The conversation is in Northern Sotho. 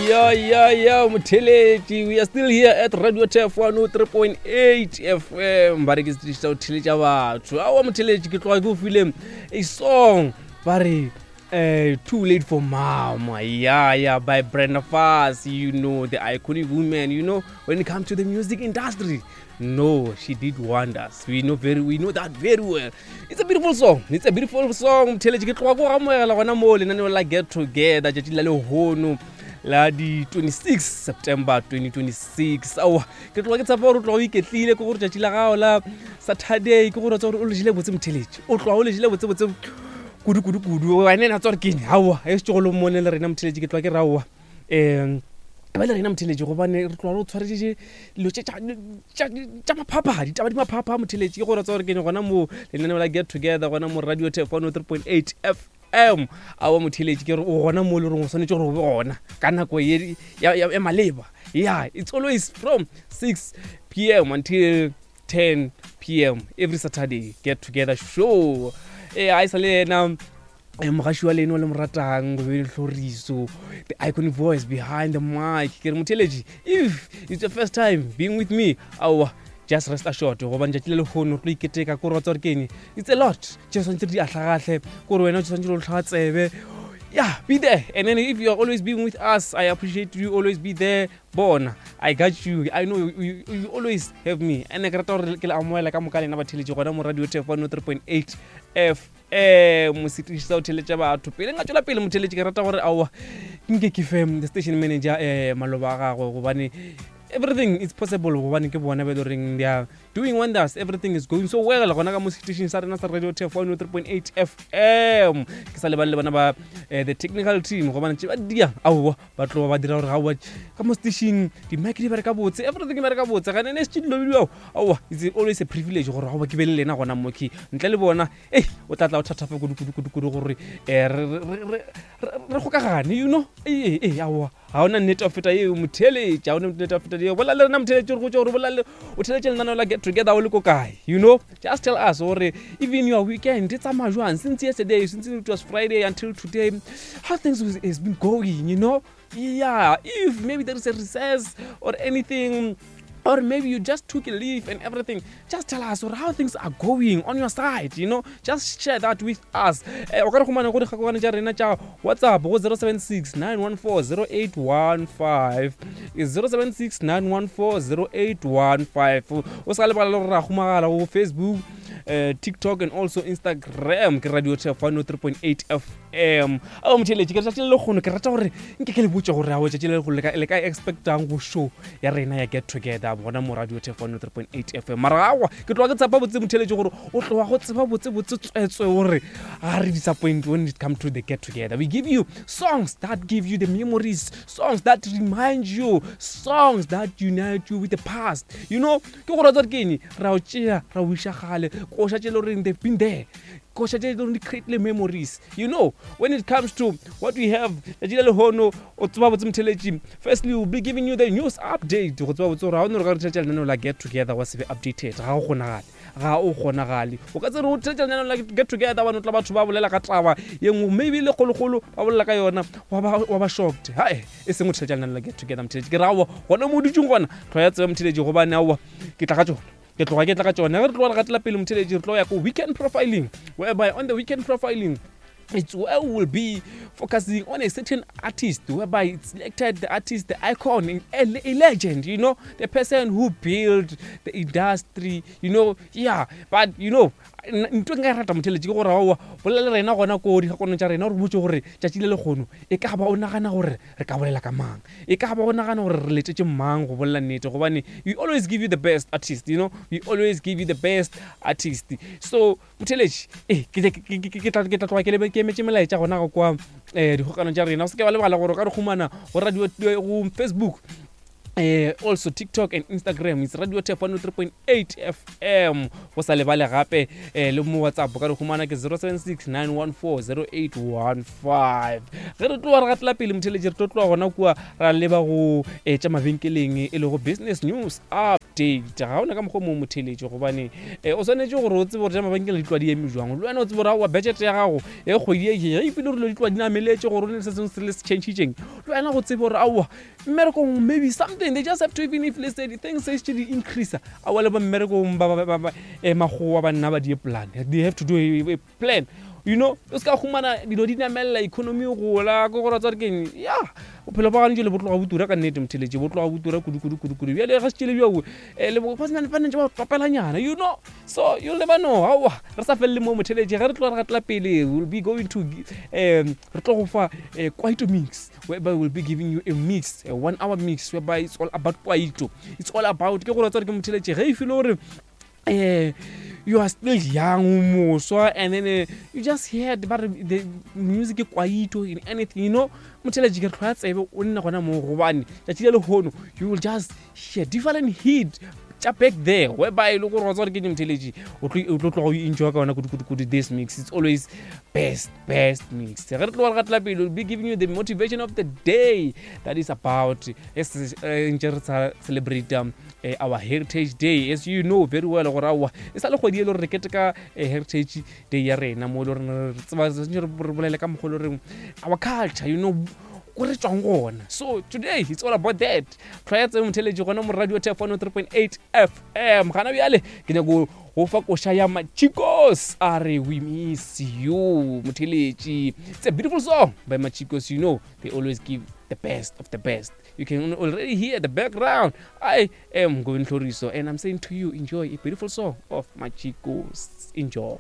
ya ya ya motheletši we are still here at radio tf 103.8 fm ba re ke setiši sa go theletša batho aowa motheletši ke tloga ke o file a song ba re Uh, too late for mama yeah yeah by brenda Fassie, you know the iconic woman you know when it comes to the music industry no she did wonders we know very we know that very well it's a beautiful song it's a beautiful song motheletši ke tloga ko amogela gona moo lenaneo la get together tšatši la lehono la di 26 september 2026 aowa ke tloga ke tshepa gore o tloga o iketlile ke gore tšatši la gago la saturday ke gore tsa gore o lejile botse motheletši o tloga o lejile botse botse kudu kudu kudu ene na tsa gore keng aowa e setse go le mone le rena motheletši ke tloga ke re aowa um ba le rena motheletši gobane re tloga re o tshwaretše dilo tša maphapha ditaba di maphapha motheletši ke gore tsa gore ke gona mo lenaneo la get together gona mo radio tef 103.8 fm awa motheletši ke re o gona mo le reng o swanetše gore o be gona ka nako ye ya maleba yeah it's always from 6 pm until 10 pm every saturday get together show e a e sa le yena Eh, mogaši wa leno le mo ratang go be tlhoriso the iconic voice behind the mic ke re motheletši if it's your first time being with me aowa just rest assured gobane tšatši le lehono re tlo iketeka ko re wa tsa gore keng it's a lot tše tshwanetse re di ahlagahle kore wena o tshwanetse re tlhaga tsebe yeah be there and then if you are always being with us i appreciate you always be there bona i got you i know you, you, you always have me and ke rata gore ke le amoela ka moka lena batheletši gona mo radio tef 103.8 f um mosetiši sa go theletša batho pele nka tšwela pele motheletši ke rata gore aowa nke ke fe the station manager um maloba a gagwe gobane everything is possible gobane ke bona ba e le goreng they are doing wonders everything is going so well gona ka mo setišing sa rena sa radio tf 103.8 fm ke sa lebale le bona ba eh, the technical team gobane tše ba dia aowa ba tloga ba dira gore gaowa ka mo setišing di-mic di bereka botse everything e bereka botse gane ne se dilo bidio aowa it's always a privilege gore gaowa ke be le lena gona mo ke ntle le bona ei o tla tla o thathafa kudu kudu kudu kudu gore um re kgokagane you know ee ee aowa ga ona nnete wa feta eo motheletše ga ona nnete wa feta eo bolela le rena motheletše gore go tse gore bolale o theletše lenaneo la get together o le ko kae you know just tell us gore even your weekend e tsamaya jwang since yesterday since it was friday until today how things has been going you know yeah if maybe there is a recess or anything or maybe you just took a leave and everything just tell us or how things are going on your side you know just share that with us eh, o ka re humana go dikgakogane tša rena tša whatsapp go 076 914 0815 076 914 0815 o sa lebala le gore ra humagala go facebook uh, tiktok and also instagram ke radio tf 103.8 fm ao motheletše ke letšatši le lekgono ke rata gore nke ke le botse gore ao tšatši le lekgono le ka expectang go show ya rena ya get together gona mo radio tf 103.8 fm mara awa ke tloga ke tshepa botse motheletše gore o tloga go tseba botse botse tswetswe gore ga re disappoint when it come to the get together we give you songs that give you the memories songs that remind you songs that unite you with the past you know ke gore tsa ke eng ra o tšea ra o iša gale koša tše le goreng they've been there koša tše le goreng di create memories you know when it comes to what we have letšatši la lehono o tseba botse motheletši firstly we'll be giving you the news update go tseba botse gore ga o ne re ka re theletša lenaneo la get together wa se be updated ga go kgonagale ga o kgonagale o ka tsere o theletša lenaneo la get together bane o tla batho ba bolela ka taba ye nngwe maybe le kgolokgolo ba bolela ka yona wa ba shocked hae e seng o theletša lenaneo la get together motheletši ke re aowa gona mo o dutseng gona tlho ya tseba motheletši gobane aowa ke tla ka tsona ke tloga ke tla ka tšone ge re tloga re gatela pele motheletši re tlo ya ko weekend profiling whereby on the weekend profiling it's where we will be focusing on a certain artist whereby it's selected the artist the icon a, a legend you know the person who built the industry you know yeah but you know ntho e nka e rata motheletši ke gore aowa bolela le rena gona ko dikgakonong tša rena gore botse gore tšatši le lekgono e ka ba o nagana gore re ka bolela ka mang e ka ba o nagana gore re letetše mang go bolela nnete gobane we always give you the best artist you know we always give you the best artist so motheletši e ke tla tloga ke emetše melaetša gona go kwa um dikgokano tša rena o se ke ba lebala gore o ka re humana go radio go facebook. Also TikTok and Instagram, it's Radio Tef 103.8 FM. Go sa lebale gape le mo WhatsApp ka re humana ke 076 914 0815. Ge re tloga re gatela pele motheletši, re tlo tloga gona kua ra leba go tša mabenkeleng e lego business news update. Ga ona ka mokgwa mo motheletši, gobane o swanetše gore o tsebe gore tša mabenkeleng di tloga di eme jwang, le wena o tsebe gore aowa budget ya gago e kgwedi e ge e file gore dilo di tloga di nameletše, gore o ne le se sengwe se le se changitšeng, le wena go tsebe gore aowa mmerekong maybe something they just have to, even if let's say the things se di increase, aowa le ba mmerekong ba makgowa ba nna ba die plan, they have to do a plan, you know. O se ka humana dilo di namelela, economy e gola, ke gore tsa keng ya bophelo ba gantši le bo tloga bo tura ka nnete motheletše, bo tloga bo tura kudu kudu kudu kudu. Bjale ga se tšele bjao le ba ntse ba topelanyana, you know, so you'll never know. Aowa re sa felele mo motheletše, ge re tloga re gatela pele, we'll be going to re tlo go fa kwaito mix, whereby we'll be giving you a mix, a 1 hour mix, whereby it's all about kwaito, it's all about ke gore tsare ke motheletše ge e file gore you are still young, o moswa, and then you just heard ba re the music ke kwaito in anything, you know. Motheletše, ke re tlhoya tsebe o nne gona moo, gobane tšatši le lehono you will just hear different hit tša back there, whereby e le gore wa tswa gore ke motheletši o tlo tloga o enjoy ka yona kudu-kudu-kudu. This mix, it's always best, best mix. Ge re tloga re gatela pele, we'll be giving you the motivation of the day, that is about ntse re sa celebrate our Heritage Day. As you know very well gore aowa e sa le kgwedi e le gore re keteka Heritage Day ya rena, mo e le gore re tseba re bolele ka mokgwa e le goreng our culture, you know, ko re tswang gona. So today it's all about that. Tlhwaya tse motheletši gona mo Radio Tef 103.8 FM. Gana bjale ke nyako go fa koša ya Machikos, a re "We Miss You". Motheletši, it's a beautiful song by Machikos. You know they always give the best of the best. You can already hear the background. I am Govin Hloriso and I'm saying to you, enjoy a beautiful song of Machikos. Enjoy.